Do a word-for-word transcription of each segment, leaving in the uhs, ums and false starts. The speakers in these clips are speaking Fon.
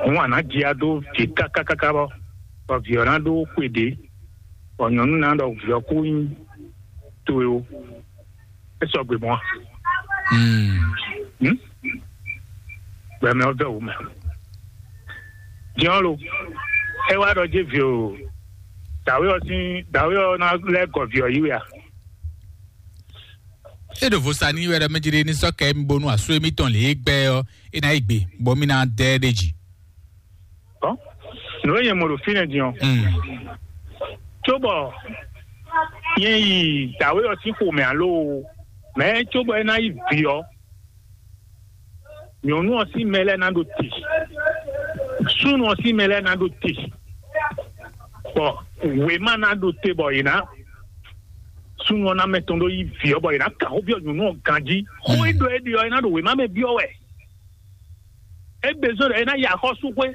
Hǔn a nǎ jia dó vǐ kákákáká bɔ, bɔ vǐ ɔ́ ná ɖó xwe ɖě, bɔ nyɔ̌nu ná ɖɔ vǐ ɔ́ kú nyí towe ó. É sɔgbe mɔ̌ a? Hmm? Gbɛmɛ ɔ́ vɛ́ wǔ mɛ. Din ɔ́ lo, é wá ɖɔ jéví o, dǎwe ɔ́ sín dǎwe ɔ́ ná lɛ́ gɔ vǐ ɔ́ yí wɛ a? É ɖo vo sa n'i wɛ ɖɔ mɛ jlé ní sɔ́ kɛ émí bónú asú émítɔn lě e gbɛ ɔ́, é ná yi gbe, bɔ mí ná dɛ ɛ ɖ'é jí. Ɔ́, nǔ e nyɛ mɔ ɖo fínɛ́ din ɔ́, Mm. Cóbɔ nyɛ yi dǎwe ɔ́ sín xomɛ alo mɛ cóbɔ é ná yi vǐ ɔ́, nyɔ̌nu ɔ́ sín mɛ lɛ́ɛ ná ɖo te, súnnu ɔ́ sín mɛ lɛ́ɛ ná ɖo te, bɔ wěma ná ɖo te bɔ yě ná súnnu ɔ́ ná mɛ tɔn ɖó yí vǐ ɔ́, bɔ yě ná kan xó byɔ́ nyɔ̌nu ɔ́ ganjí. Xó e ɖɔ é ɖe ɔ́, é ná ɖo wěma mɛ byɔ́ wɛ. É bezɔn ɖɔ é ná yi axɔ́súxwé,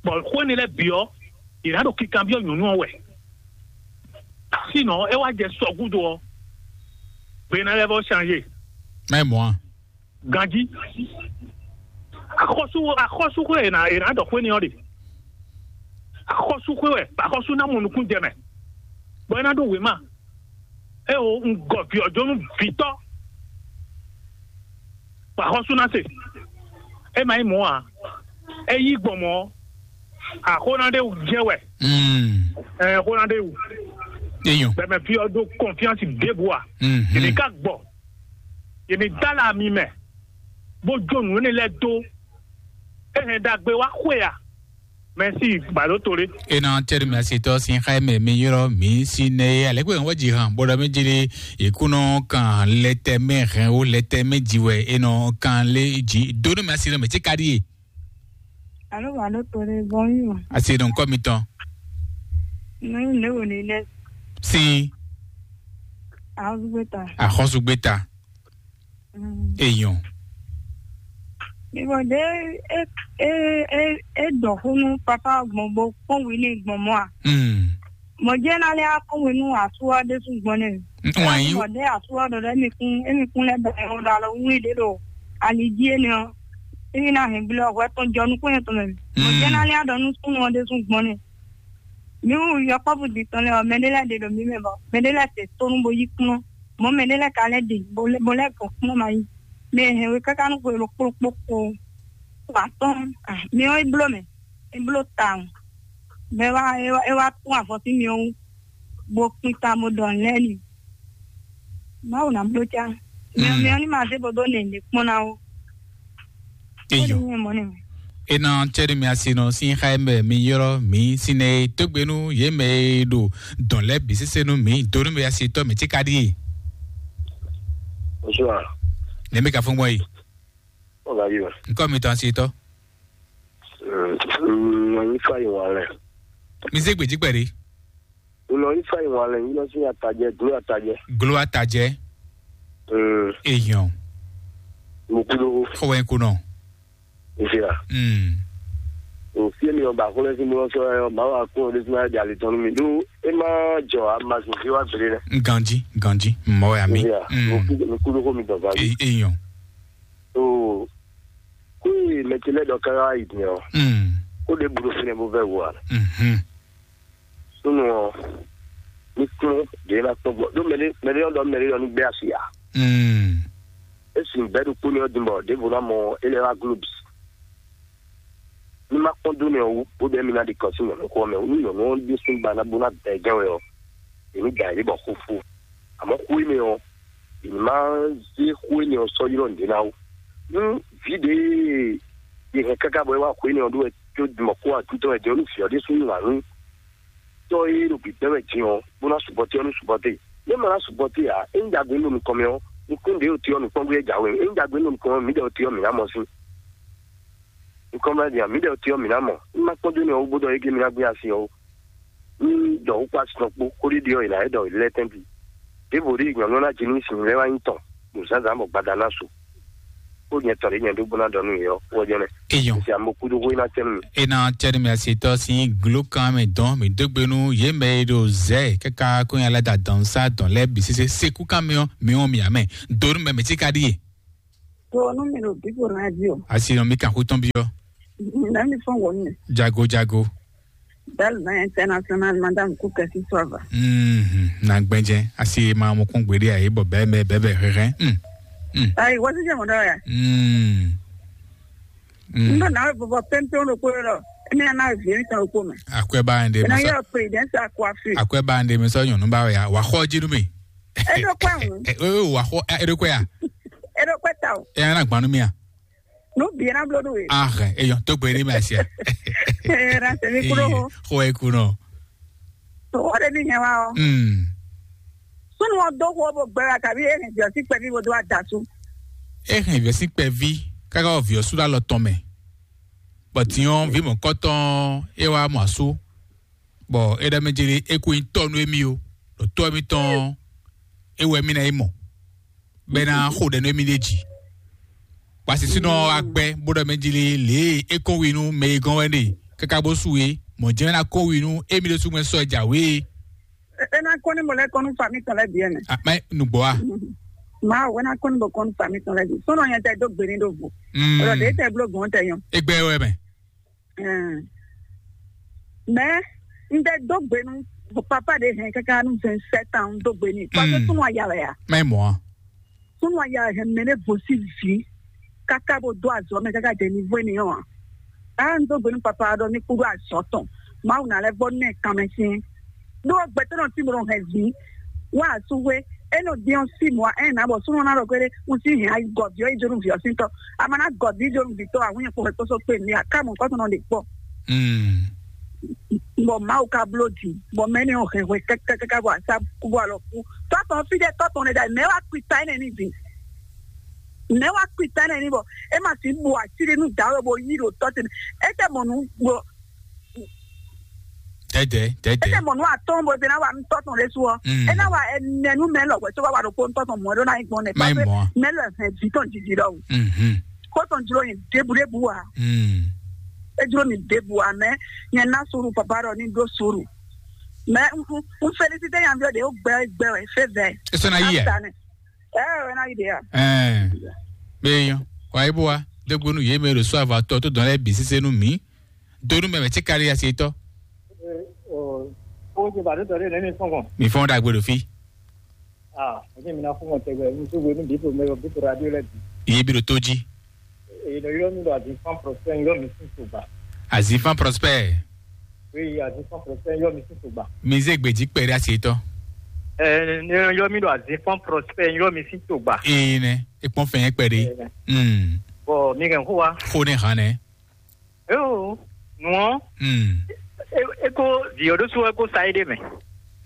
bɔ xó énɛ́ lɛ́ɛ bǐ ɔ́, yě ná ɖo kikanbyɔ́ nyɔ̌nu ɔ́ wɛ. Sinɔ é wá jɛ sɔ gúdo ɔ́, gbe ná lɛ́ vɔ changé. Mɛ mɔ̌ a? Ganjí. Axɔ́sú axɔ́súxwé è nǎ è nǎ ɖɔ xwé n'i ɔ́ ɖe. Axɔ́súxwé wɛ, axɔ́sú ná mɔ nukún jɛ mɛ, bɔ é ná ɖó wěma. É o un gɔ vǐ ɔ́ jó nú vǐtɔ́, bɔ axɔ́sú ná se. É ma nyí mɔ̌ ǎ. É yí gbɔn mɔ̌, axó ná ɖe wú jɛ wɛ. Mm. Ɛ xó ná ɖe wú. Eyɔn. Bɛmɛ fí ɔ́ ɖó kɔnfíansi ɖěbǔ ǎ. Mhm. Yě ká gbɔ, yě ní dó alɔ ami mɛ, bó jó nǔ énɛ́ lɛ́ɛ dó. É hɛn ɖagbe wá xwe a? Mɛsi, bado to ɖé. Ena tɛri mi asitɔ sin xa mɛ mi yrɔ mi si nɛ ye alɛ kpe wɔ ji hàn bɔdɔ mi jeli ikunɔ kan lɛtɛ mɛ hɛn wo lɛtɛ mɛ ji wɛ enɔ kan le ji do ne mi asi nɔ mɛ ti ka di ye. Alo, bado to ɖé bɔn yi ma. Asi nɔ nkɔ mi tɔn. Ne ne wo ne ne. Sin. Ahɔsugbeta. Ahɔsugbeta. Eyɔn. Ìwọ ɖe é é é é ɖɔ xó nú papa gbɔn bó kpɔ́n wǐ n'i gbɔn mɔ̌ a? Mm. Mɔ̌ jɛ́n ná lɛ́ á kpɔ́n wǐ nú asú ɔ́ ɖésú gbɔn nɛ. Wǎn yí. Mɔ̌ ɖe asú ɔ́ ɖɔ ɖɔ émi kún émi kún lɛ́ bɛ́ ɔ́ ɖo alɔ wlí ɖě ɖo ali jí énɛ́ ɔ́, émi ná hɛn gblé ɔ́ hwɛ tɔn jɔ nukún nyɛ tɔn mɛ. Mɔ̌ jɛ́n ná lɛ́ á ɖɔ nú súnnu ɔ́ ɖésú gbɔn nɛ. Mǐ wu yɔkpɔ́vú din tɔn lɛ́ɛ ɔ́, mɛɖé lɛ́ɛ ɖe ɖɔ mǐ mɛ bɔ mɛɖé lɛ́ɛ se tónú bó yí kplɔ́n. Mɔ̌ mɛɖé lɛ́ɛ ka lɛ́ ɖe bó lɛ́ bó lɛ́ gɔn kplɔ́n ma yí. Mɛ e hɛn we káká nú xwe ɖokpó ɖokpó kpo atɔ́ɔ́n. Mi ɔ́, é bló mɛ, é bló tawun. Bɔ é wá é wá é wá tún avɔ sín mi ɔ́ wú, bó kpín ta bó ɖɔ nǔ lɛ́ɛ n'i. Mawu ná bló cá. Mi ɔ́, mi ɔ́ ní ma zé bo dó nɛ̌ ɖě kpɔ́n ná ó. Eyɔ. Ena cɛɖi mi asinɔ sín xa mɛ mi yrɔ mi sinɛ tógbénu yé mɛ e ɖo dɔn lɛ bi sese nu mi donu mi asitɔ mi tika ɖi. Bonsoir. Ne mi ka fún gbɔn yi. Ọ̀gá yìí wà. Nkɔ mi tɔn asitɔ. Nyi fa yi wà lẹ. Mi zé gbèjì pẹ̀lú. Nɔ yi fa yi ŋwan lɛ yi nɔ si atajɛ glo atajɛ. Glo atajɛ. Mm. Eyan. Mo kudo. Xɔwɛ kunɔ. Nzira. Mm. O fie mi ɔba xɔlɛ si mo sɔ yɔ ma wa kun o de sima di ali tɔnu mi do e ma jɔ a ma zun fi wa bere dɛ. Ganji ganji mɔ ya mi. Nzira. Mo kudo mo kudo ko mi dɔ ganji. Eyan. O ko mɛtɛlɛ dɔ kara yi diɛ o. Mm. Ko de buru fene bo vɛ wa. Mhm. Súnnu ɔ́, ní kplɔ́n ɖě ná kpɔ́n gbɔ ɖó mɛɖé mɛɖé ɔ́ ɖɔ mɛɖé ɔ́ ní gbé asi ǎ. Mm. Esi bɛ́ ɖokpó ní ɔ́ din bɔ ɖěvo ná mɔ é lɛ́ wá glóbi. Ní má kpɔ́n dó nɛ ɔ́ wú, bó bɛ́ mi ná ɖi kɔ sín nyɔ̌nu xɔ mɛ wú, ní nyɔ̌nu ɔ́ ɖésú ba ná bó ná da ɛ gán wɛ ɔ́, è ní da ɛ bɔ xófó. Àmọ́ xó énɛ́ ɔ́, è ní má zé xó énɛ́ ɔ́ sɔ́ ylɔ́ nǔɖé ná wú. Nú vǐ ɖě e è hɛn káká bɔ é wá xó énɛ́ ɔ́ ɖó wɛ có mɔ kó atúntɔ́ wɛ jɛ nú vǐ ɔ́ ɖésú nú ǎ nú tɔ́ e ɖo gbǐgbɛ́ wɛ din ɔ́, bó ná subɔte ɔ́ nú subɔte. Nú é ma ná subɔte ǎ, é nyí ɖagbe nú nukɔn mɛ ɔ́, nukún ɖě ɖo te ɔ́ nǔkpɔ́n gbé jǎwe, é nyí ɖagbe nú nukɔn mɛ ɔ́, mǐ ɖɔ te ɔ́ mǐ ná mɔ sín. Nukɔn mɛ din mǐ ɖɔ te ɔ́ mǐ ná mɔ. Nú má kpɔ́n dó nɛ ɔ́ wú bó ɖɔ é gé mǐ ná gbé asi ɔ́ wú. Nú ɖɔ wú kpó asi tɔn kpó, xó ɖíɖí ɔ́ è nǎ é ɖɔ lɛ́ tɛ́ntin. Ɖěvo ɖíe nyɔ̌nu ɔ́ ná ji nú sin lɛ́ wá nyí tɔn, ɖo zǎnzǎn bɔ gbada ná su. Kó nyɛ tɔn ɖě nyɛ ɖó bó ná ɖɔ nú yě ɔ́, wɔ jɛnɛ. Eyɔn. Esi amo kúdó hó ná tɛ́ nú mi. Ena cɛɖi mi asitɔ si glo kan mɛ dɔn mi dó gbe nú yě mɛ e ɖo zɛ kaka kó nya lɛ da dɔn sa dɔn lɛ bi sese seku kan mi ɔ mi ɔ mi amɛ donu mɛ mi ti ka ɖi ye. To nú mi ɖo bíbo radio. Asi nɔ mi kan xó tɔn bi ɔ. Nami fɔn wɔ mi. Jago jago. Belle main internationale, madame Kukesi Sova. Mhm. Na gbɛnjɛ asi ma mo kún gbede ayi bɔ bɛɛ mɛ bɛɛ bɛ hɛhɛ. Mm. Mm. Ayi, wɔ si jɛ mɔ dɔ ya. Mm. Mm. Ndo na bɔ pɛnpɛn ro ko ro. Emi na vie mi tan ko mɛ. Akwɛ ba ende. Na masa. Yo présidence à coiffure. Akwɛ ba ende mi sɔ nyɔnu ba ya. Wa xɔ ji nu mi. Edo kwa ŋu. Eh, eh, eh, wa xɔ, eh, edo kwa ya. Edo kwa ta o. Eh, na gbanu mi ya. Nú bǐ ná bló nú we. Ahɛ, eyɔn tó gbé ní mɛ asia. Ee, na tẹ̀mí kúrò hó. Xó ẹ kú nɔ. Tó wọ́n ɖe ní nyɛ wá ọ́. Mm. Súnú wọn dó xó bó gbẹ wá kàbí é hɛn jɔ sí kpɛví bó dó adasú. É hɛn vǐ ɔ́ sín kpɛví káká wɔ vǐ ɔ́ sú ɖó alɔ tɔn mɛ. Bɔ din ɔ́, vǐ mɔ̌kɔtɔn é wá mɔ asú. Bɔ é ɖɔ mɛ jeli é kó nyí tɔ́ nú émí ó, ɖo tɔ́ émítɔn é wɛ mì ná yi mɔ, bɔ é ná xo ɖɛ nú émí ɖ'é jí. Bɔ asisínɔ ɔ́ wá gbɛ́ bó ɖɔ mɛ jeli lě e é kɔn wi nú mɛ e gɔ́n wɛ ɖe káká bó su é, mɔ̌ jɛ́n é ná kɔn wi nú émí ɖésú mɛ sɔ́ jǎwe é. É ná kɔn ní mɔ lɛ́ kɔn nú fami tɔn lɛ́ bǐ ɛnɛ. Mɛ nǔgbó a? Mawu é ná kɔn ní bɔ kɔn nú fami tɔn lɛ́ bǐ. Sɔ́nɔ nyɛ tɛ dó gbe ní ɖo vo. Ọ̀rọ̀ ɖě tɛ bló gbɔn tɛ nyɔ. É gbɛ wɛ mɛ. Ɛɛ. Mɛ n tɛ dó gbe nú papa ɖé hɛn káká nú vingt-sept ans, n dó gbe n'i. Parce que súnnu aya wɛ a? Mɛ mɔ a? Súnnu aya wɛ hɛn mɛ ɖé vo sí vǐ káká bó dó azɔ̌ mɛ káká jɛ ní vó énɛ́ ɔ́ a? Á n dó gbe nú papa ɔ́ ɖɔ ní kúdó azɔ̌ tɔn. Mawu ná lɛ́ vɔ nú ɛ kanmɛ sín. Ɖó gbɛtɔ́ nɔ tín bó nɔ hɛn vǐ wá asúhwé, é nɔ din ɔ́ sí mɔ̌ ɛ nǎ bɔ súnnu ná ɖɔ gbéɖé un sí hɛn ayi gɔ̌ví ɔ́ yi jó nú vǐ ɔ́ sín tɔ́. A ma ná gɔ̌ví jó nú vǐ tɔ́ ǎ, hǔn nyɛ kpo hɛn kpóso kpé mi aká mɔ̌ kɔ́ tɔn nɔ ɖe kpɔ́. Bɔ Mawu ka bló jǐ, bɔ mɛ énɛ́ ɔ́ hɛn hwɛ kɛ́kɛ́kɛ́ bɔ asá kú bɔ alɔ kú. Tɔ́ tɔn fí ɖé tɔ́ tɔn ɖé ɖ'ayǐ, mɛ̌ wá kpi ta énɛ́ n'i din? Mɛ̌ wá kpi ta énɛ́ n'i bɔ é ma sixú bu ací ɖé nú dǎwe bo yí ɖo tɔ́ ce mɛ? É tɛ mɔ nǔ bɔ Dɛdɛ, dɛdɛ. Ete mɔ nú atɔ́ɔ́n bɔ ete ná wa nú tɔ́ tɔn ɖésú ɔ́. Mm. É ná wa ɛnɛ nú mɛ lɔ wɛ tó wá wa ɖokpó nú tɔ́ tɔn mɔ̌ é ɖó ná nyí gbɔn nɛ. Má nyí mɔ̌ a? Mɛ lɔ hɛn vǐ tɔn jiji ɖɔhun. Mhm. Kó tɔn jló nyi ɖěbǔɖěbǔ ǎ. Mm. É jló mì ɖěbǔ ǎ, mɛ nyɛ ná suru papa ɖɔ ní ɖó suru. Mɛ un un un félicité nyaví ɔ́ ɖě ó gbɛ gbɛ wɛ fé vɛ. É sɔ́ ná yí ɛ? Ɛ ɛ wɛ ná yí ɖě a? Ɛɛ. Bɛ yɔ. Wa yi bó wa. Dégbónú yě mɛ ɖo sɔ́ avatɔ tó dɔn lɛ́ɛ bǐ sésé nú mǐ. Donu mɛ mɛ tí kárí asi tɔ. Ó ti bàdó tɔ̀lé nɛ́ ní fún kàn. Mi fɔn ɖagbe ɖo fí. Ah, ó ti mi ná fún kàn tẹ́gbẹ́, mi tó gbé ní bípo mẹ́rọ bípo radio lẹ́ bì. Iye bí ɖo tó jí. Èyí lọ yọ mi lọ àti fan prospect yọ mi sí tògbà. Azifan Prosper. Oui, àti fan prospect yọ mi sí tògbà. Mi zé gbèjì pẹ̀lú asi tɔ. Ẹ ní yọ mi lọ àti fan prospect yọ mi sí tògbà. Ee nɛ, ekpɔn fɛn yẹn pẹ̀lú. Ee nɛ. Hmm. Bɔ mi kàn kó wa. Kó ne hàn nɛ. Yo, nǔ ɔ́, Mm. É- é kó vǐ ɔ́ ɖésú wɛ kó sa é ɖé mɛ.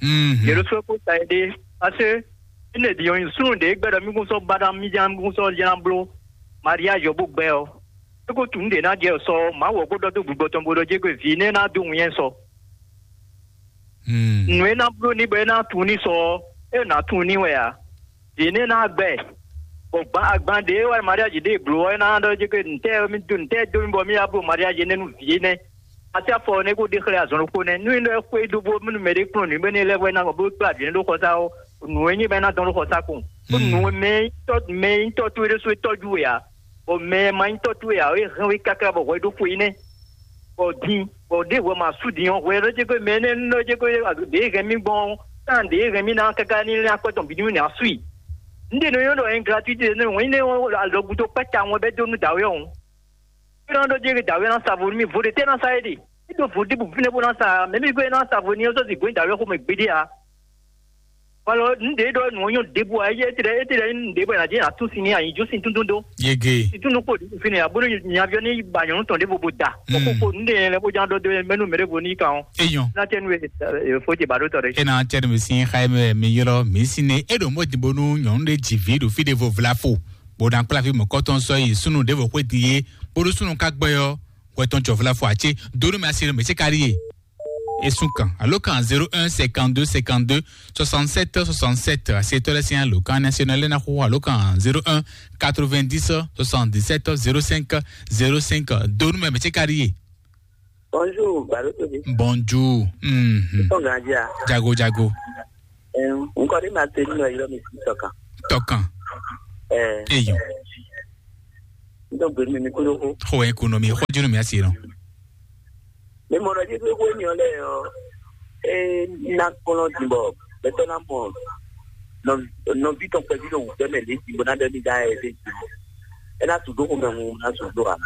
Mhm. Vǐ ɔ́ ɖésú wɛ kó sa é ɖé. Parce que é nɛ vǐ ɔ́ nyi súnnu ɖě gbɛ́ ɖɔ mí kún sɔ́ ba ná mí ján mí kún sɔ́ ján bló mariage ɔ́ bó gbɛ ɔ́. É kó tunú ɖě ná jɛ sɔ Mawu ɔ́ kó ɖɔ dó gbigbɔ tɔn bó ɖɔ jé gbe vǐ nɛ́ ná dó wun nyɛ sɔ. Mm. Nǔ e ná bló ní bɔ é ná tunwun ní sɔ ɔ́, é ná tunwun ní wɛ ǎ. Yě ní ná gbɛ. Bɔ gban agban ɖě wɛ mariage ɖě bló ɔ́, é ná ɖɔ jé ke ntɛ́ mi dó ntɛ́ dó mi bɔ mi yá bló mariage énɛ́ nú vǐ énɛ́. Asi afɔ ɔ́ nɛ́ kó ɖe xlɛ́ azɔn ɖokpó nɛ́. Nú é ɖɔ xwé dó bó mɛnu mɛ ɖé kplɔ́n nǔ bɛ́ ní lɛ́ hwɛ ná bó kplá vǐ énɛ́ ɖó xɔsá ɔ́, nǔ e nyí bɛ́ ná dɔn ɖó xɔsá kɔn. Bó nǔ e mɛ nyí tɔ́ mɛ nyí tɔ́ towe ɖésú é tɔ́jú we ǎ. Bɔ mɛ e ma nyí tɔ́ towe ǎ, é hɛn we káká bɔ hwɛ ɖó xwé énɛ́. Bɔ din, bɔ ɖěvo ma sú din ɔ́, hwɛ ɖɔ jɛ ko mɛ énɛ́ nɔ jɛ ko ɖě hɛn mì gbɔn ɔ́, kan ɖě hɛn mì ná káká ní lɛ́n akwɛ́ tɔn bǐ ní mì ná sú i. Un ɖe nɔ nyɔ́ ɖɔ ɛn gratuité nɛ wɛn ní alɔgúdo kpɛ́ ta wọn bɛ dó nú dǎwe ɔ́. É nɔ ɖɔ jɛ dǎwe ná sa vo nú mì, vo ɖe tɛ́ ná sa é ɖe. É ɖo vo ɖěbǔ fínɛ́ bó ná sa, mɛ mì gbé ná sa vo ní ɔ́ sɔ́ zi gbɔn dǎwe xomɛ gbeɖé ǎ. Alɔ, nu ɖě ɖɔ nǔ ɔ́ nyɔ́ ɖěbǔ ǎ, éyɛ́ étɛ́ étɛ́ nyí nǔɖé bɔ è nǎ jɛ atún sin ní anyǐjó sin túntún dó. Yege. Sin túntún kpo ɖě fínɛ́ ǎ, bónú nyaví ɔ́ ní ba nyɔ̌nu tɔn ɖěvo bó da. Mm. Bɔ xóxó nǔɖé nyɛ lɛ́ bó ján ɖɔ dó mɛnú mɛ ɖěvo ní kan ɔ́. Eyɔn. Ná tɛ́ nú e fó ce ba ɖó tɔ ɖé. E na tɛ nu mi sin xa mɛ mi ylɔ mi sin ne e ɖo mɔ din bonu nyɔnu ɖe dzi vi ɖo fi ɖe vo vla fo bo na kpla vi mɔkɔtɔn sɔ yi sunu ɖe vo xwe din ye bonu sunu ka gbɛ yɔ wɛtɔn jɔ vla fo atse donu mi asi ɖo mi se ka ɖi ye. Esun kan alo kan zéro un cinquante-deux cinquante-deux soixante-sept soixante-sept asetɔ lɛ sin alo kan national lɛ na xo alo kan zéro un quatre-vingt-dix soixante-dix-sept zéro cinq zéro cinq donu mɛ mi se ka ɖi ye. Bonjour, Balotobi. Bonjour. Mhm. Ton Gadia. Jago jago. Eh, un kɔni ma te nínú ẹ̀yọ́ mi sí tọkàn. Tọkàn. Eh. Eyàn. N dó gbe nú mi kúɖó xó. Xó wɛ nyí kú nú mi, xó jí nú mi asi nɔ. Mi mɔ ɖɔ jí xwé xwé mi ɔ́ lɛ́ɛ ɔ́, é ná kplɔ́n din bɔ gbɛtɔ́ ná mɔ nɔ- nɔví tɔn kpɛví ɖo wǔvɛ́ mɛ lě din bó ná ɖɔ ní dá ɛ lě din ɔ́, é ná su dó xomɛ hun ná su dó ǎ.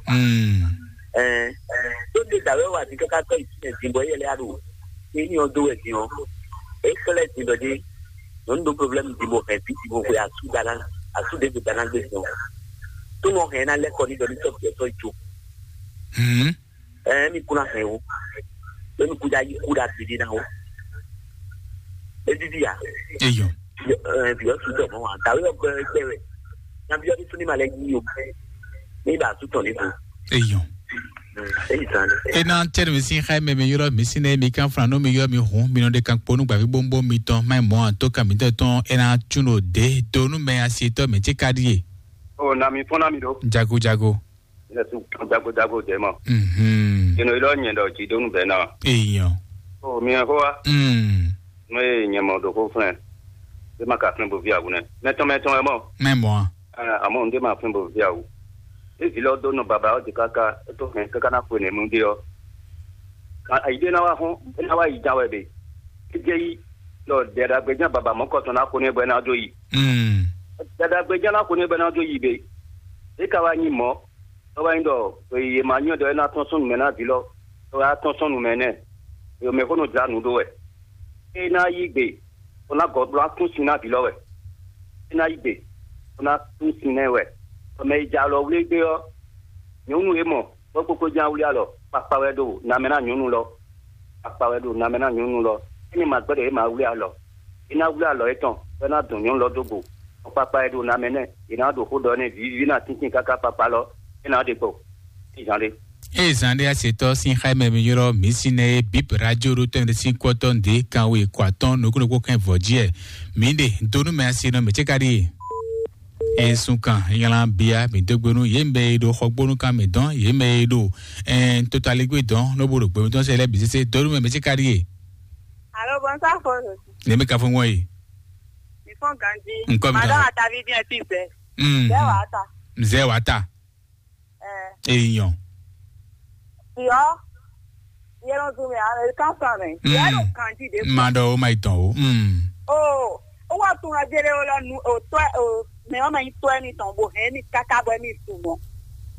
Mm. Ɛɛ, tó ní dǎwé wa din káká tɔ́ yi fínɛ́ din bɔ éyɛ́ lɛ́ɛ á ɖo éní ɔ́ dó wɛ din ɔ́, é xlɛ́ din ɖɔ jí nyɔ̌nu ɖó problème din bɔ hɛn vǐ din bɔ xwe asú dáná asú ɖěvo dáná gbé din ɔ́, tó nɔ hɛn ná lɛ́ kɔ ní ɖɔ ní tɔ́ bǐ ɔ́ tɔ́ yi jó. Mm. Ɛɛ, mi kú ná hɛn o, é mi kú dá yí kú dá bǐ dí ná o. É víví ya. Eyɔ. Ɛɛ, bǐ ɔ́ su tɔ mɔ wa dǎwé ɔ́ gbɛ gbɛ wɛ. Ná bíɔ́ ní súnní ma lɛ yí o. Ní bá sú tɔn ní bu. Eyɔ. Èyí tán ni. Ena tɛnɛ mi sin xá mɛ mi yɔrɔ mi sin ne mi kan flan nú mi yɔ mi hun mi nɔ de kan kpo nú gbàgbé bóńbó mi tɔn má mɔ àtó kan mi tɛ tɔn ena tún o de do nú mɛ asi tɔ mɛ tí ka ɖíe. O na mi fɔn na mi ɖo. Jago jago. Yɛsu jago jago jɛ mɔ. Mhm. Ino ilɔ nyɛ ɖɔ jidonu bɛ na. Eyɔ. O mi hɛn xó wa. Mm. Nú e nyɛ mɔ ɖo xó flɛn. E ma ka flɛn bo vi awu nɛ. Mɛtɔn mɛtɔn wɛ mɔ. Mɛ mɔ. Ɛ, àmọ́ un ɖé ma flɛn bo vi awu. E vi lɔ dó nɔ baba ɔ́ di káká, é tó hɛn káká ná xwe nɛ̌ mú ɖé ɔ́. Ka ayi ɖé ná wá xɔ́n, é ná wá yi ja wɛ ɖe. É jɛ yi, ɖɔ dɛɖagbejá baba mɔ̌kɔtɔn ná xo n'i bɔ é ná dó yi. Mm. Dɛɖagbejá ná xo n'i bɔ é ná dó yi ɖe. É ka wá nyí mɔ̌, é wá nyí ɖɔ è ma nyɔ́ ɖɔ é ná tɔ́n sɔ́ nǔ mɛ ná vǐ lɔ, é wá tɔ́n sɔ́ nǔ mɛ nɛ́. È mɛ xó nɔ jlá nǔ ɖó wɛ. É ná yí gbe, bó ná gɔ̌ bó ná tún sin ná vǐ lɔ wɛ. É ná yí gbe, bó ná tún sin nɛ́ wɛ. Bɔ mɛ e ja alɔ wlí gbé ɔ́, nyɔ̌nu e mɔ bɔ kpókpó ján wlí alɔ, kpakpa wɛ ɖo namɛ ná nyɔ̌nu lɔ. Kpakpa wɛ ɖo namɛ ná nyɔ̌nu lɔ. Ényí ma gbɛ́ ɖɔ é ma wlí alɔ, é ná wlí alɔ étɔn, bɔ é ná dɔn nyɔ̌nu lɔ dó go. Bɔ kpakpa wɛ ɖo namɛ nɛ́, è nǎ ɖo xó ɖɔ nɛ́ vǐví ná tíntín káká kpakpa lɔ, é ná ɖe kpo. Zan ɖé. Eye zan ɖé asetɔ sín xá mɛ mi ylɔ́ mǐ sín nɛ e bǐ radio ɖó tɔn ɖé sín kɔ́tɔ́ ɖě kan we kɔ atɔ́n nukúnnukún kɛn vɔ̌ jí ɛ mǐ ɖe dó nú mɛ asi nɔ mɛ cé ka ɖíe. Eye sun kan nylá bia mǐ dó gbe nú yě mɛ e ɖo xɔgbónú kan mǐ dɔn yě mɛ e ɖo ɛn totaligbé dɔn ló bó ɖo gbɛmɛ tɔn sɛ lɛ́ bǐ sésé dó nú mɛ mɛ cé ka ɖíe. Alo, bonsoir, Fɔnɔ. Ne mi ka fún wọn yi. Mi fún ganji. Nkɔ mi madame kan. Atavi bien ti bɛ. Mm. Bɛ wa ta. Mzɛ wa ta. Eh. Èèyàn. Yɔ. Yɛlɛ zun mi a kan san mɛ. Mm. Yɛ lo ganji de. Ma dɔ o ma itɔn o. Mm. O, o wa tun ajele o la nu o tɔ o mɛ o ma yi tɔ ni tɔn bo hɛn ni kaka bɔ mi su mɔ.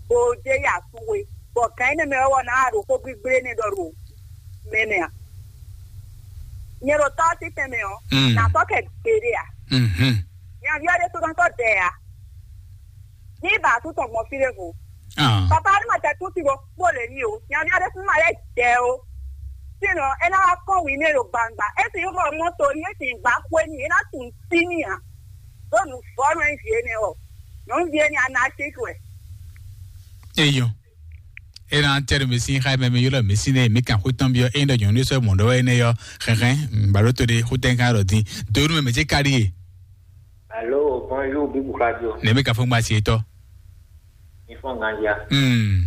Bo je ya su we. Bɔ gan ne mɛ o wa na a ɖo ko gbigble ne dɔ ro. Mɛ mɛ a. Nyɛ ɖo tɔ ti tɛn mɛ o. Mm. Na tɔ kɛ gbede a. Mhm. Nya vi o de to na tɔ dɛ a. Ní bá tún tɔn gbɔn fí ɖěvo. Ah. Papa ní ma tɛ tún ti bo kpó lě ní o. Nyanya ɖé fún ma lɛ jɛ o. Sínɔ é ná wá kɔn wǐ ní e ɖo gbangba. É sì yí xɔ mɔto ní é sì gbá xwé ní é ná tún sí ní ǎ. Ɖó nǔ vɔ́ nú é vǐ énɛ́ ɔ. Nǔ vǐ énɛ́ a ná sí wɛ. Eyɔn. Ena tɛ́ ɖo mi sín xá mɛ mi ylɔ́ mi sín nɛ mi kan xwé tɔn byɔ́ é ɖɔ nyɔ̌nu sɔ́ mɔ̌ ɖɔ wɛ énɛ́ yɔ xɛxɛn bǎɖótó ɖé xwé tɛn kan ɖɔ dín. Donu mɛ mɛ cé ka ɖíe. Alo, bonjour, Bibou Radio. Nɛ mi ka fún gba si etɔ. Mi fɔn gandia. Hmm.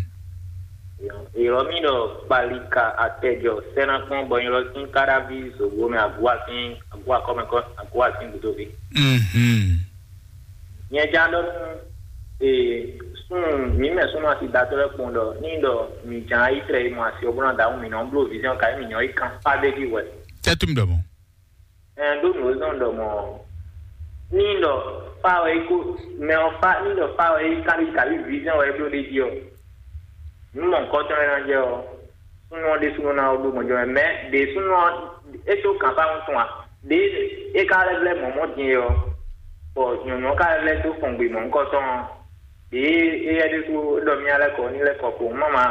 Ìrọ̀ mi ɖɔ kpalika atɛjɔ sɛnakpɔn bɔ nyɔlɔ sín káɖáví zòwó mɛ agua sín agua kɔmɛ kɔ agua sín gúdóví. Mhm. Nyɛ já ɖɔ nú ee sún mǐ mɛ súnnu asi datɔ́ lɛ́ɛ kpɔn ɖɔ ní ɖɔ mǐ ján yi tlɛ yi mɔ asi ɔ́ bó ná dǎhun mǐ nɔ bló vision ka yi mǐ nyɔ yi kan fá ɖé jí hwɛ. Tɛ́ tún mi ɖɔ mɔ̌. Ɛn ɖó nǔ e zɔ́n ɖɔ mɔ̌ ní ɖɔ fá wɛ yi kó mɛ ɔ́ fá ní ɖɔ fá wɛ yi kábí kábí vision wɛ yi bló ɖ'é jí ɔ́, nǔ mɔ̌hunkɔtɔn e ná jɛ ɔ́, súnnu ɔ́ ɖésúnɔ ná wá ɖó gbɔn jɔ mɛ mɛ ɖě súnnu ɔ́ é tó kan fá wuntun a ɖě é ka lɛ́ vlɛ́ mɔ̌ mɔ̌ din é ɔ́, bɔ nyɔ̌nu ɔ́ ka lɛ́ vlɛ́ dó fɔn gbe mɔ̌hunkɔtɔn ɔ́, ɖě éyɛ́ ɖésú é ɖɔ mì lɛ́ kɔ ní lɛ́ kɔ kpowun má ma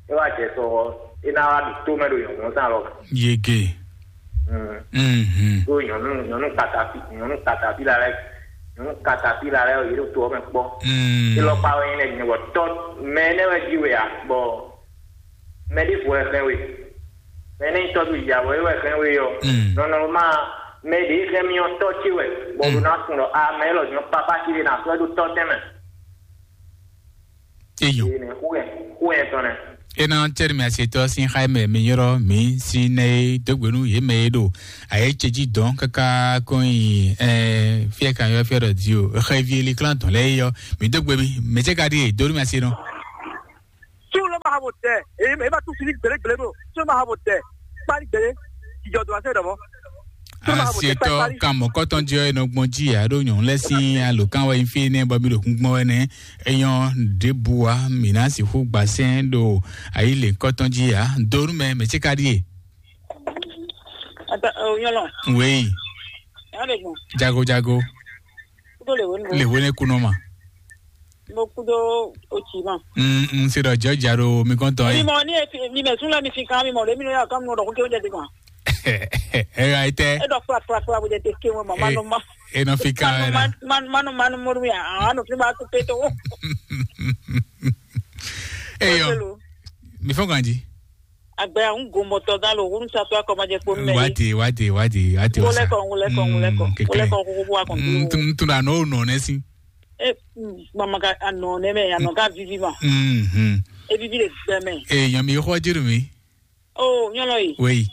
é wá jɛ sɔ ɔ́, é ná wá ɖo tó mɛ ɖo nyɔ̌nu ɔ́ tɔn alɔ. Yege. Mm. Mhm. Ɖó nyɔ̌nu nyɔ̌nu katapi nyɔ̌nu katapila lɛ́ɛ nyɔ̌nu katapila lɛ́ɛ yě ɖo to ɔ́ mɛ kpɔ́. Mm. Élɔ́ kpa wɛ nyí lɛ́ nyɛ bɔ tɔ́ mɛ énɛ́ wɛ jí we a bɔ mɛ ɖěvo wɛ xlɛ́n we. Mɛ énɛ́ nyí tɔ́ ɖo yǎ wɛ wɛ xlɛ́n we ɔ́. Mm. Nɔnɔma mɛ ɖě xlɛ́n mì ɔ́ tɔ́ ce wɛ bɔ ɖo ná sun ɖɔ a mɛ élɔ́ nyɔ̌ papá ce ɖe ná sɔ́ ɛ ɖó tɔ́ tɛn mɛ. Eyɔn. Ene xó yɛ xó yɛ tɔn nɛ. Ena tɛri mi asetɔ sin xa mɛ mi yɔrɔ mi si nɛ e dogbe nu ye mɛ e ɖo aye ce ji dɔn kaka kɔn yi ɛ fiɛ kan yɔ fiɛ dɔ di o xɛ vi eli klan tɔn lɛ yɔ mi dogbe mi mɛ ce ka di e donu mi ase nɔ. Tí wọ́n lọ́ máa ha bò tẹ̀, èyí ẹ̀ bá tún fi ní gbèlégbèlé bò, tí wọ́n máa ha bò tẹ̀, kpálí gbèlé, ìjọ dùn àṣẹ ìdọ̀bọ̀. Asetɔ kan mɔkɔtɔn jɛ ɛ nɔ gbɔn ji ya ɖo nyɔnu lɛ sin alo kan wɛ fi ne bɔ mi ɖo kún gbɔn wɛ nɛ eyɔn ɖebu wa mi na si xú gbasɛn ɖo ayi le kɔtɔn ji ya donu mɛ mɛ ce ka ɖi e. Ata o nyɔlɔ. Wei. Yàrá gbọn. Jago jago. Kúndó lè wé nu. Le wé ne kunɔ ma. Mo kúndó o tì ma. Mm, mm, se ɖɔ jɛ ja ɖo mi kɔn tɔn ye. Mi mɔ ní efi mi mɛ sún lɛ mi fi kan mi mɔ ɖe mi nɔ yà kán mi nɔ ɖɔ kó ké oúnjẹ ti kan. Ẹ ra itẹ. E ɖɔ kpla kpla kpla bó jẹ te ké wọn ma ma nɔ ma. E nɔ fi kan ẹ na. Ma nɔ ma nɔ mɔɖu mi a a nɔ fi ma tó pé tó. Eyɔ. Mi fɔ ganji. Agbe ahun gomɔtɔ gán lo hun sa tó akɔmajɛ kpó mɛ. Wati wati wati wati wasa. Wole kɔ wole kɔ wole kɔ wole kɔ kókó bó wa kɔn. Ntun ntun na n'o nɔ ne si. E mama ka anɔ ne mɛ anɔ ka vivi ma. Mhm. E vivi le gbɛ mɛ. E yan mi xɔ jiru mi. O nyɔlɔ yi. Wei.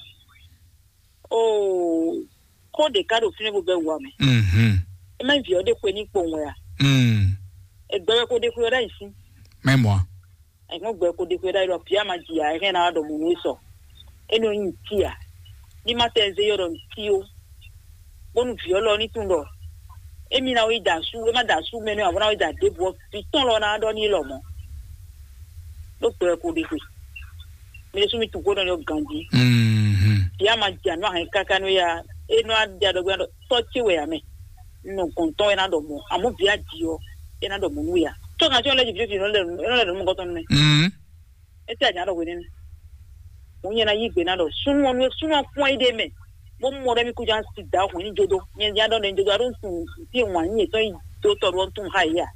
O ko de ka ɖo fínɛ bó bɛ wua mɛ. Mhm. E mɛ viɔ de xwe ní kpowun wɛ a. Mm. Egbɛ wɛ ko de xwe wɛ ɖe ayi sí. Mɛ mɔ. Ẹ̀gbọ́n gbẹ kó de xwé ɖá yɔ bia ma ji a ɛ hɛn na ɖɔ mo nú sɔ. E nɔ nyi ti a. Ní ma tɛ zé yɔ ɖɔ ti o. Bónú vǐ ɔ́ lɔ ní tún ɖɔ. Emi na wí da sú, e ma da sú mɛ nɛ abo na wí da débò ɔ. Vǐ tɔn lɔ na ɖɔ ní lɔ mɔ. Ɖó gbɛ kó de xwe. Mi ɖésú mi tu kó nɔ yɔ ganji. Mhm. Bia ma ji anú ahɛn káká nú ya. E nɔ adi aɖɔgbɛ ɖɔ tɔ ce wɛ ya mɛ. Nɔ gɔntɔn e na ɖɔ mɔ. Amɔ vǐ a ji ɔ, e na ɖɔ mɔ nú ya. Tɔ kan tí wọn lɛ ji fi fi nɔ lɛ nɔ lɛ nɔ mɔ gɔtɔn nɛ. Mhm. Ete anya ɖɔ hwenɛ́nu. Mo nyɛ na yí gbe na ɖɔ súnmɔ nú súnmɔ kpɔn yi ɖe mɛ. Bó mɔ ɖe mi kú jan si da hwɛn ní jodo. Nyɛ nya ɖɔ ɖe jodo aɖo tun ti wan nyɛ tɔn yi do tɔ ɖo tun ha yi a.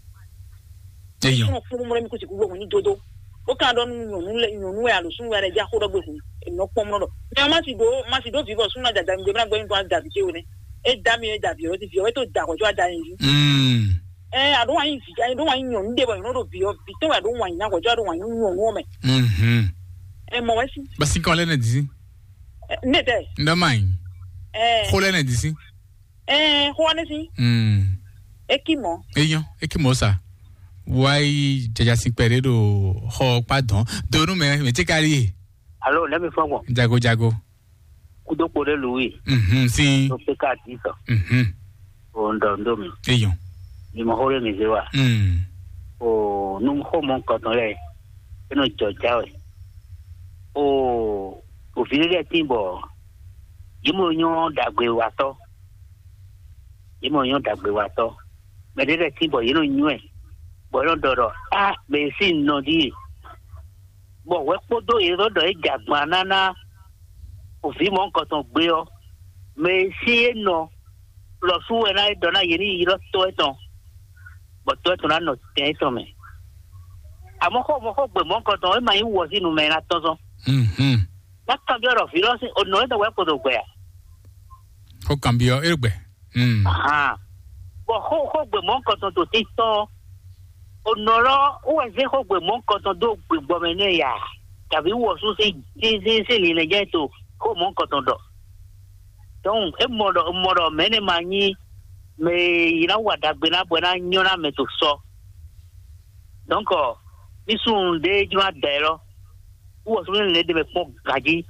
Eyɔn. Súnmɔ kpɔn mɔ ɖe mi kú si kú hwɛn ní jodo. Ó kan ɖɔ nú nyɔnu lɛ nyɔnu wɛ alo súnmɔ wɛ lɛ dza xó ɖɔ gbé hun. Enɔ kpɔn mɔ ɖɔ. Mɛ ma si do ma si do vivɔ súnmɔ dada mi gbé bla gbé mi kó da vi ce wɛ nɛ. E da mi e da vi o ti vi o e to da kɔ jo ada yin. Mm. Ɛ aɖo wanyi vi aɖo wanyi nyɔnu ɖe bɔ nyɔnu ɖo vi ɔ vi tɔn wɛ aɖo wanyi na kɔjɔ aɖo wanyi nyɔnu ɔ mɛ. Mhm. Ɛ mɔ wɛ si. Basi kɔ lɛ ne disi. Ɛ, ne tɛ. Ndɔ ma yi. Ɛ. Xo lɛ ne disi. Ɛ xo wa ne si. Mm. Eki mɔ. Eyɔn eki mɔ sa. Wa yi jaja si kpɛ ɖe ɖo xɔ kpa dɔn donu mɛ mɛ ti ka li. Alo ne mi fɔ gbɔn. Jago jago. Kúdó kpo ɖé lu wí. Mhm, sí. Tó pé ká dì sɔ. Mhm. O ń dɔ ń dó mi. Eyɔn. Ni mo xó lé mi zé wa. Mm. O nu xó mɔ nǹkan tán lɛ. E nɔ jɔ já wɛ. O òfin lɛ tí bɔ. Yìí mo nyɔ dàgbé wa tɔ. Yìí mo nyɔ dàgbé wa tɔ. Mɛ ɖé lɛ tí bɔ yìí nɔ nyɔ ɛ. Bɔ yìí nɔ dɔ dɔ a mɛ sí nɔ dí. Bɔ hwɛ kpódó yě ɖɔ ɖɔ é jɛ agban ná ná òvǐ mɔ̌hunkɔtɔn gbé ɔ́, mɛ e sín é nɔ lɔ sú wɛ ná é ɖɔ ná yě ní yi ylɔ́ tɔ́ étɔn, bɔ tɔ́ étɔn ná nɔ tɛn étɔn mɛ. Amɔ̌ xó mɔ̌ xó gbe mɔ̌hunkɔtɔn é ma nyí wɔ sín nu mɛ e ná tɔ́n zɔn. Mhm. Má kanbyɔ́ ɖɔ vǐ lɔ sín onɔ étɔn wɛ kpo ɖo gbɛ a? Xó kanbyɔ́ é gbɛ. Mm. Ahan. Bɔ xó xógbe mɔ̌hunkɔtɔn to títɔn ɔ́, onɔ lɔ wó wɛ zé xógbe mɔ̌hunkɔtɔn dó gbigbɔ mɛ nɛ ya, tàbí wɔ̌sú sín sín sín linlɛ́njɛ́n to xó mɔ̌hunkɔtɔn ɖɔ. Donc é mɔ ɖɔ mɔ ɖɔ mɛ̌ nɛ ma nyí mɛ e yi ná wa ɖagbe ná bɔ é ná nyɔ́ ná mɛ to sɔ. Donc mí súnnu ɖé jló ná da ɛ lɔ. Wɔ súnnu lɛ́ɛ ɖe mɛ kpɔ́n ganjí,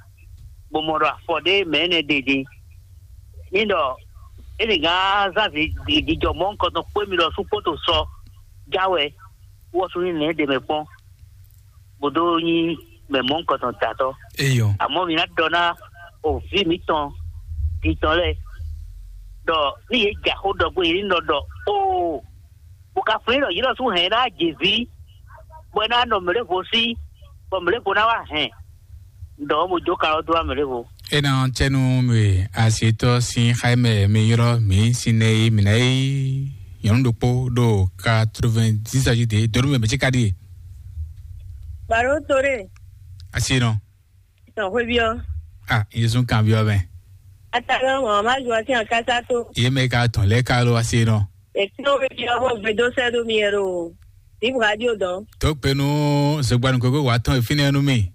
bó mɔ ɖɔ afɔ ɖé mɛ énɛ́ ɖe din. Ní ɖɔ é lě gán zán jijɔ mɔ̌hunkɔtɔn kpó émí ɖɔ sú kpó to sɔ já wɛ, wɔ súnnu lɛ́ɛ ɖe mɛ kpɔ́n, bó dó nyí mɛ mɔ̌hunkɔtɔn datɔ́. Eyɔ. Àmọ́ mi ná ɖɔ ná òví mǐtɔn dintɔn lɛ́ɛ ɖɔ ní yě jɛ axó ɖɔ gbé yě ní nɔ ɖɔ óo. Bó ka flín ɖɔ yě nɔ sú hɛn ná jě ví, bɔ é ná nɔ mlěvo sí, bɔ mlěvo ná wá hɛn. Ɖɔ mo jó kan ɔ́ dó wá mlěvo. É ná cɛ́nú mi asetɔ sín xáyémɛ mi ylɔ́ mǐ sín nɛ e mǐ ná yí nyɔ̌nu ɖokpó ɖo quatre-vingt-dix âge de donu mɛ mɛtí ka ɖíe. Baro tore. Asi nɔ. Tɔn xwé biɔ. Ah, Yesu kan biɔ mɛ. Ata lɔ mɔ ma ju asi an kasa to. Ye mɛ ka tɔn lɛ ka lo asi nɔ. Ètí ó wébi ɔ́ bó gbedó sɛ́dó mi ɛ ɖo Vive Radio dɔn. Tó gbe nú Zogbanu Gogo wá tɔn ìfínɛ́ nú mì.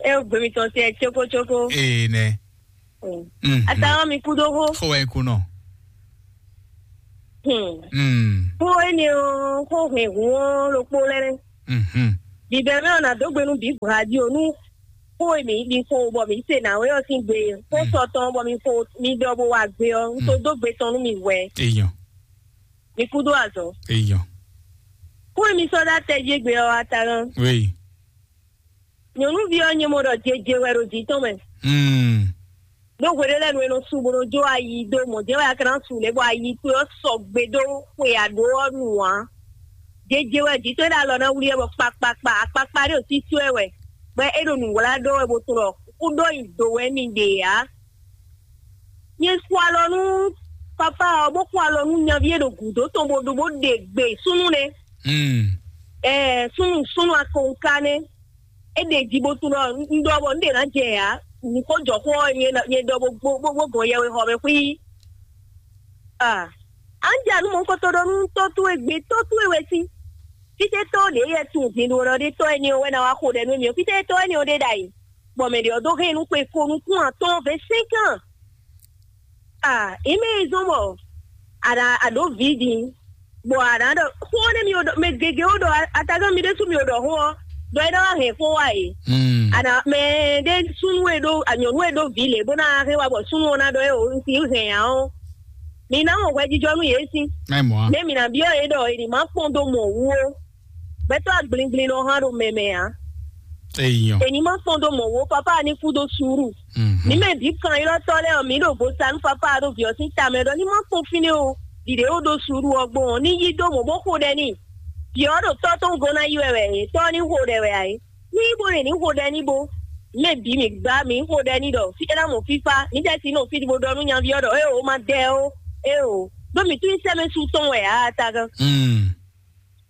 E gbe mi tɔn se cókócókó. Ee nɛ. Mm. Mhm. Ata ɔ́ mi kú dó xó. Xó wɛ kú nɔ. Hmm. Mm. Xó énɛ́ ɔ́, xó hɛn hǔn ɔ́ ɖokpó lɛ́ɛ. Mhm. Bibɛ mɛ ɔ́ nǎ dó gbe nú Vive Radio nú xó e mǐ ɖi xó bɔ mǐ se nǎwe ɔ́ sín gbe. Xó Mm. sɔ tɔn bɔ mi xo mi ɖɔ bó wá gbe ɔ́, un tó Mm. dó gbe tɔn nú mi hwɛ. Eyɔn. Mi kú dó azɔ̌. Eyɔn. Xó e mi sɔ́ dó atɛ jí gbe ɔ́, Atagán. Oui. Nyɔ̌nuví ɔ́ nyɛ mɔ ɖɔ jeje wɛ ɖo jǐ tɔn mɛ. Hmm. Ɖó hweɖé lɛ́ɛ nu e nɔ su bó nɔ jó ayi dó mɔ̌ jɛ́n wɛ a ka ná su lě bɔ ayi towe ɔ́ sɔgbe dó xwe aɖǒ ɔ́ nu ǎ. Jeje wɛ jǐ towe ɖo alɔ ná wlí ɛ bɔ kpakpakpa akpakpa ɖé ɖo sísí wɛ wɛ, bɔ é ɖo nǔwlá ɖó wɛ bó tunwun ɖɔ kúɖó nyi do wɛ mi ɖe ǎ. Nyɛ xo alɔ nú papa ɔ́, bó xo alɔ nú nyaví e ɖo gǔdo tɔn bó ɖo bó ɖe gbe súnnu nɛ́. Hmm. Ɛɛ súnnu súnnu akɔnká nɛ́. É ɖe jí bó tunwun ɖɔ un ɖɔ bɔ un ɖe ná jɛ ǎ. Nǔ ko jɔ xó ɔ́, nyɛ ná- nyɛ ɖɔ bó bó bó bó gɔn yɛwexɔ mɛ xwí. Ah, an ja nú mɔ kɔtɔ ɖɔ nú tɔ́ towe gbe tɔ́ towe wɛ sí. Fítɛ́ tɔ́ ɖě yɛ tunwun din ɖo ɖɔ ɖé tɔ́ ɛni ɔ́ wɛ ná wá xo ɖɛ nú émí ɔ́, fítɛ́ tɔ́ ɛni ɔ́ ɖe ɖ'ayǐ. Bɔ mɛ ɖě ɔ́ dó hɛn nú xwe ko nukún atɔ́ɔ́n vɛ̌ sɛ́nkán. Ah, ime yi zɔn bɔ a ɖa a ɖǒ vǐ din, bɔ a ɖa ɖɔ xó ɔ́ nɛ́ mi ɖɔ mɛ gěgé ó ɖɔ atagán mi ɖésú mi ɖɔ xó ɔ́, ɖɔ é ná wá hɛn xó wá e. Hmm. A nǎ mɛ ɖé súnnu e ɖó anyɔ̌nu e ɖó vǐ lě bó ná hɛn wá bɔ súnnu ɔ́ ná ɖɔ é o un si hɛn ǎ ɔ́, mi ná mɔ hwɛjijɔ nú yě sín. Mɛ mɔ̌ a? Mɛ mi ná byɔ́ yě ɖɔ è ní má kpɔ́n dó mɔ wú ó. Gbɛtɔ́ agblingblin nɔ hán ɖo mɛ mɛ ǎ. Eyɔn. È ní má kpɔ́n dó mɔ wú ó, papá ní kú dó suúru. Mhm. Ní mɛ bǐ kan ylɔ́tɔ́ lɛ́ɛ ɔ́, mǐ ɖo vo sa nú papá ɖo vǐ ɔ́ sín tamɛ ɖɔ ní má kpɔ́n fínɛ́ ó. Ɖiɖě ó ɖó suúru ɔ́ gbɔn ɔ́, ní yí dó mɔ̌ bó xo ɖɛ n'i. Vǐ ɔ́ ɖo tɔ́ tɔn gɔ́n ná yí wɛ wɛ é, tɔ́ ɔ́ ní xo ɖɛ wɛ ǎ é. Ní yí bó ɖe ní xo ɖɛ ní bó. Mɛ bǐ mǐ gbá mǐ xo ɖɛ ní ɖɔ fí é ná mɔ fífá, mǐ jɛ sí nɔ fí bó ɖɔ nú nyaví ɔ́ ɖɔ éeǒ má dɛ ó, éeǒ. Ɖó mǐ tún nyí sɛ́mɛ su tɔn wɛ ǎ, a tagan. Hmm.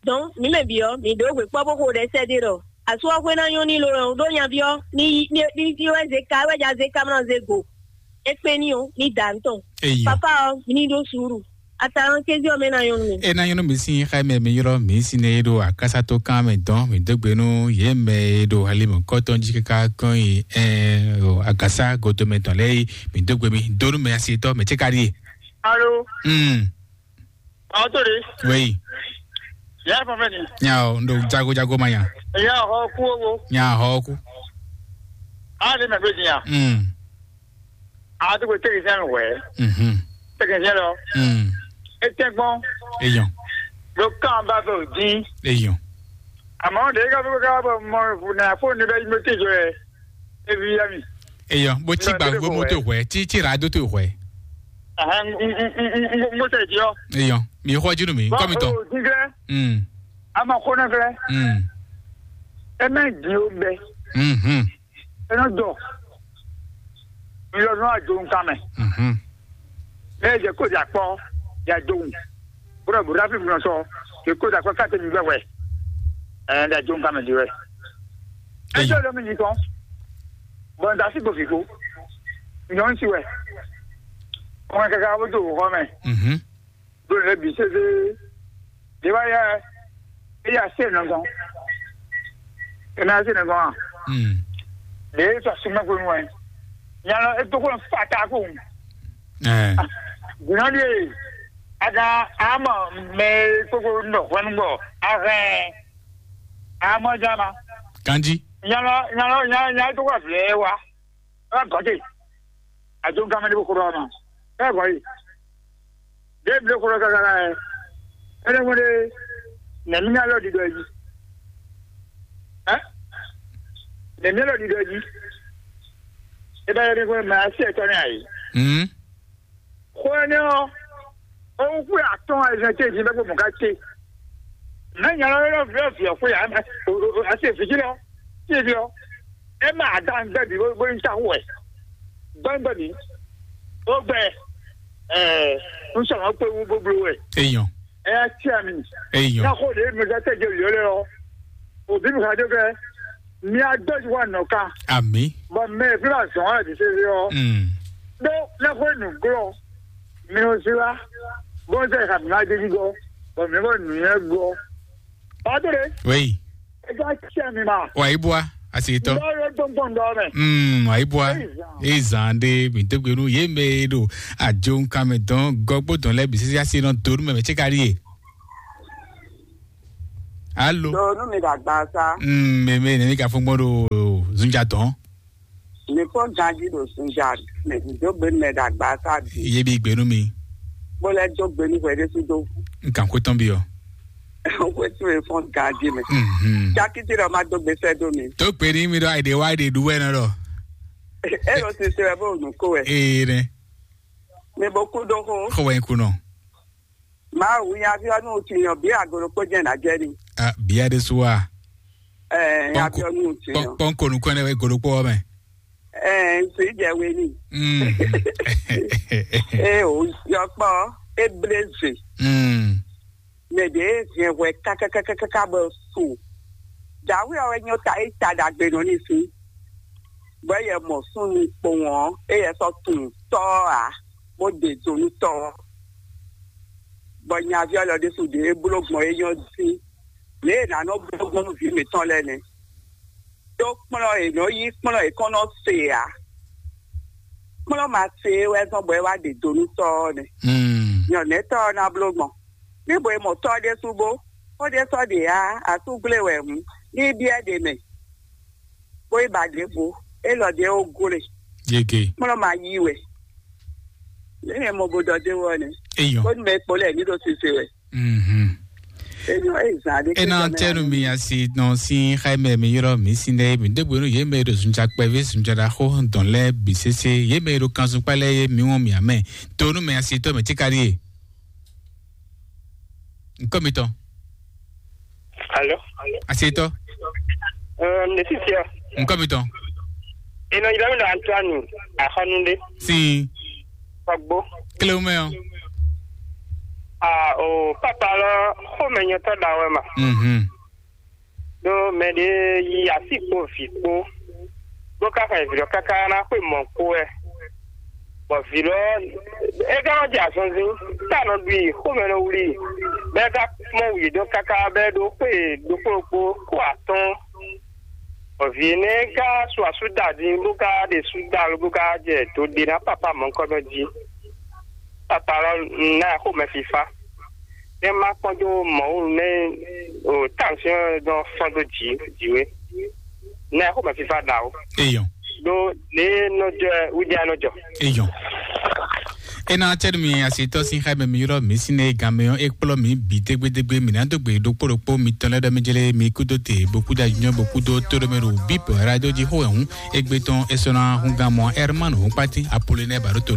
Donc, mǐ mɛ bǐ ɔ́, mǐ ɖǒ hwe kpɔ́ bó xo ɖɛ sɛ́ ɖé ɖɔ asú ɔ́ xwé ná nyɔ́ n'i lo ɔ́, ɖó nyaví ɔ́ ní ní ní ní wɛ zé ka wɛ ja zé ka mlá zé go. É kpé n'i ó, ní da nǔ tɔn. Eyɔ. Papa ɔ́, ní ɖó suúru. Atalɔn kézí ɔ́ mɛ ná nyɔ́ nú mì. E ná nyɔ́ nú mi sín xá mɛ mi ylɔ́ mi sín é ɖo akásátó kan mɛ dɔn mi dó gbe nú yě mɛ e ɖo ali mɔ̌kɔtɔn jí káká kɔn yi ɛ o agasa godo mɛ tɔn lɛ́ɛ yi mi dó gbe mi dó nú mɛ asi tɔn mɛ tí ka ɖíe. Alo. Hmm. Ɔtɔri. Wei. Ya fɔ fɛ ni. Nya o ndo jago jago ma nya. Ya hɔ ku owo. Nya hɔ ku. A de mɛ bɛ dinya. Hmm. A to ko technicien wɛ. Mhm. Technicien lɔ. Hmm. E tɛ gbɔn. Eyɔn. Lo kan ba fɛ o din. Eyɔn. Àmọ́ de ka fẹ́ ká bọ̀ mọ na fóònù bẹ́ẹ̀ yín ló tẹ̀jọ́ ẹ. Ebi ya mi. Eyɔn bó tí Nɔ, gbàgbé tó lè mọ́tò kọ̀ wẹ̀ tí tí ràdó tó wẹ̀. Ahàn n n n n n mo tẹ̀ jọ. Eyɔn mi xɔ junu mi nkɔ mi tɔ. Jíjẹ Hmm. A ma kó náà fẹ́. Hmm. Ẹ má dín ó bẹ. Mhm. Ẹ náà dọ̀. Mi lọ nú àjò nǹkan mẹ́. Mhm. Ẹ jẹ́ kó jà pọ̀ jà jòun. Búrọ̀ bùrọ̀ fi mìíràn sọ. Kì í kó jà pọ̀ káàtì mi gbẹ̀wẹ̀. Ẹ ẹ jà jòun nǹkan mẹ́ di wẹ̀. Ẹ Eyɔn. Jẹ́ olómi yìí kan. Bọ̀ǹda sí gbòfìgbò. Ìyọ̀n ń ti wẹ̀. Ọmọ kẹ̀kẹ́ abójú òwò kọ́ mẹ́. Mhm. Ɖo le bi sese ɖe wá yɛ eya se nɔgɔn ena se nɔgɔn a Hmm. ɖe sɔ sumɛ ko nu wɛ nyalɔ eto ko fata ko Ɛ. Gbɔn ɖe aga ama mɛ koko nɔ hwɛnu gbɔ ahɛn ama jama Kanji. Nyalɔ nyalɔ nyalɔ nyalɔ to ko ablɛ wa ɛ gɔte adzo gamɛ de ko ko dɔ ma ɛ gɔyi. Ɖěe bló xó ɖɔ káká ɛ, é nɔ ɖe nɛ̌mí ná lɔ ɖiɖɔ jí. Ɛ? Nɛ̌mí lɔ ɖiɖɔ jí. É bá yɛ ní xó mɛ así ɛtɔ́ ní ayǐ. Hmm. Xó énɛ́ ɔ́, ó wú xwé atɔ́ɔ́n ayizɛ́n ce jí bɛ́ kpó mɔ̌ ká ce. Mɛ nya lɔ lɔ vǐ ɔ́ vǐ ɔ́ xwé ǎ mɛ asi vǐ jí lɔ sí vǐ ɔ́ é mɛ adan gbɛ bǐ bó ní ta xú wɛ gbɛngbɛ bǐ ó gbɛ ɛɛ n sɔ̀rọ̀ pé wú bó bló wɛ Eyɔn. Ɛ yá tí a mi Eyɔn. Náà kó lè mi sá tẹ̀jẹ̀ lè lé ɔ òbí mi ká dé fẹ́ mi á gbé ju wa nɔ ká Ami. Bɔ mɛ fí la zɔn ɛ ti sese ɔ Mm. Ɖó lɛ́xwé nǔglɔ́ mi ò sí wá bó ń sẹ́ ìhà mi má dé jí gɔ́ bɔ mi bó nǔ nyɛ gbọ́. Padre, Oui. Eza kyɛ mi ma. Wa yi bua, asi tɔ. Ndɔ yo gbɔngbɔn ndɔ mɛ. Mm, wa yi bua. Ezan. Ezan de mi degbe nu ye me do. Ajo nkan me dɔn gɔgbo dɔn lɛ bisisi asi nɔ do nu mɛ mɛ tse kari ye. Alo. Do nu mi dagba sa. Mm, me me ne mi ka fun gbɔn do zunja dɔn. Mi fɔ ganji do zunja mɛ do gbe mɛ dagba sa bi. Ye bi gbe nu mi. Bo lɛ do gbe nu hwɛ de su do. Nkan ko tɔn bi o. Wetin e fɔn ganji mɛ. Mhm. Jakiti ɖɔ ma dó gbèsè dó mi. Tó pè ní mi ɖɔ àìdè wá àìdè ɖu wɛ nɔ ɖɔ. E lɔ sise wɛ bó nu ko wɛ. Ee nɛ. Mi bo kú dó xó. Xɔ wɛ ku nɔ. Ma wu nya fi ɔnu ti yàn bí agolo kó jẹ́ nà jẹ́ ni. Ah, bia de su wa. Ẹ ya fi ɔnu ti yàn. Pɔn konu kɔn ne wɛ golo kpɔ mɛ. Ẹ n sì jẹ we ni. Mm. E o yọkpɔ e blé ze. Mm. Mɛ ɖě e hɛn hwɛ kákákákáká bɔ su. Dǎwe ɔ́ wɛ nyɔ́ ta é ta ɖagbe nɔ ní sín. Bɔ yɛ mɔ súnnu kpowɔn ɔ́, é yɛ sɔ́ tunwun tɔ́ ɔ́ ǎ, bó ɖe do nú tɔ́ ɔ́. Bɔ nyaví ɔ́ lɔ ɖésú ɖě é bló gbɔn é nyɔ́ dín. Lě e è nǎ nɔ bló gbɔn nú vǐ mǐtɔn lɛ́ɛ nɛ́. Đó kplɔ́n è nɔ yí kplɔ́n è kɔn nɔ se ǎ. Kplɔ́n ma se é wɛ zɔ́n bɔ é wá ɖe do nú tɔ́ ɔ́ nɛ́. Nyɔ̌nɛ́tɔ́ ɔ́ ná bló gbɔn. Ní bo e mɔ tɔ́ ɖésú bó, xó ɖé sɔ́ ɖe ǎ, asúgblé wɛ hǔn, ní í byɔ́ ɖě mɛ, bó yi ba ɖěvo, élɔ́ ɖě ó glé. Yege. Kplɔ́n ma yí wɛ. Lě e mɔ bo ɖɔ dé wɔ nɛ. Eyɔn. Bó ní mɛ kpó lɛ ní ɖo sise wɛ. Mhm. Eyɔn, é zan ɖé. Ena tɛnu mi asi nɔ si xaimɛ mi yɔrɔ mi si nɛ mi degbe nu ye mɛ ɖo zunja kpɛvi zunja ɖaxo dɔn lɛ bi sese ye mɛ ɖo kanzun kpalɛ ye mi wɔn mi amɛ. Tonu mɛ asi tɔ mɛ tikari ye. Nkɔ mi tɔ. Alo. Asi tɔ. Ɛɛ, ne sisi ya. Nkɔ mi tɔ. Ina yira mi na Antoine Ahɔnunde. Si. Pagbo. Kle o mɛ o. Ah, o papa lɔ xɔmɛ nyɔtɔ da wɛ ma. Mhm. Ɖó mɛ ɖé yi asi kpo vi kpo, bó ka xɛ vǐ lɔ káká ná xwé mɔ̌ kpó wɛ. Bɔ vǐ lɔ é ka nɔ jɛ azɔnzin, tá nɔ ɖu i, xomɛ nɔ wlí i, bɔ é ka mɔ wǔ yědɔn káká, bɔ é ɖó xwé ɖokpó ɖokpó kó atɔ́ɔ́n. Bɔ vǐ énɛ́ ka su asú da din, bó ka ɖe sú da lo, bó ka jɛ do ɖe ná papa mɔ̌hunkɔtɔn jí. Papa lɔ ná xomɛ fífá. Ne ma kpɔn dó mɔ̌ nɛ o, tension dɔ fɔn dó dzi dzi we. Ne xo ma fifa da o. Eyɔn. Do ne nɔ jɔ wudi anɔ jɔ. Eyɔn. Ena tɛnu mi asitɔ sin xa mɛ mi yɔrɔ mi sin ne gan mɛ yɔ ekplɔ mi bi degbe degbe mi na do gbe ɖokpo ɖokpo mi tɔn lɛ dɔ mi jele mi kudo te bo kuda nyɔ bo kudo to dɔ mɛ ɖo bip radio ji xo ɛhun egbe tɔn esɔna hun gan mɔ Hermano hun pati Apollinaire Baroto